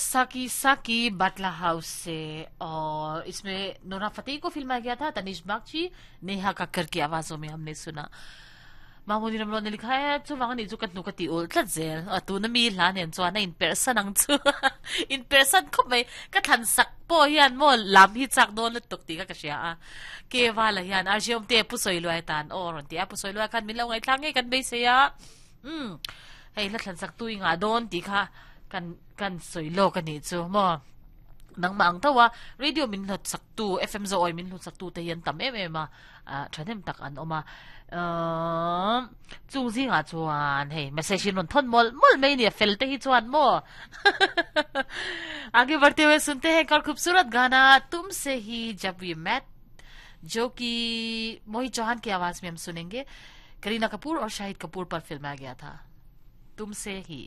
साकी साकी बाटला हाउस से और इसमें नोरा फतेही को फिल्माया गया था। तनिष्क बागची, नेहा कक्कर की आवाजों में हमने सुना। Mahmudi Ramlo ne लिखा है chuvang ani chu ka hnuk a ti ul tlat zel a tuna mi hla nen chuan a inperhsan ang chu inperhsan khawp mai ka thlan sak pawh hian maw lam hi chak dawn lutuk tih kha ka hria a Kevala hian RJ Awmte Pu Sawiluai tan aw a rawn ti a Pu Sawiluai khan min lo ngaihthlak ngei kan beisei a umm hei hla thlan sak tu i ngah dawn tih kha kan kan sawi lawk a nih chu maw nangmah ang tho a radio min hlawt sak tu FM Zawi min hlawt sak tu te hi an tam em em a ah thahnem tak an awm a umm chung zingah chuan hei message in rawn thawn mawlh mawlh mai a ni a fel te hi chuan maw आगे बढ़ते हुए सुनते हैं एक और खूबसूरत गाना तुमसे ही जब we met जो कि मोहित चौहान की आवाज में हम सुनेंगे। करीना कपूर और शाहिद कपूर पर फिल्माया गया था तुमसे ही।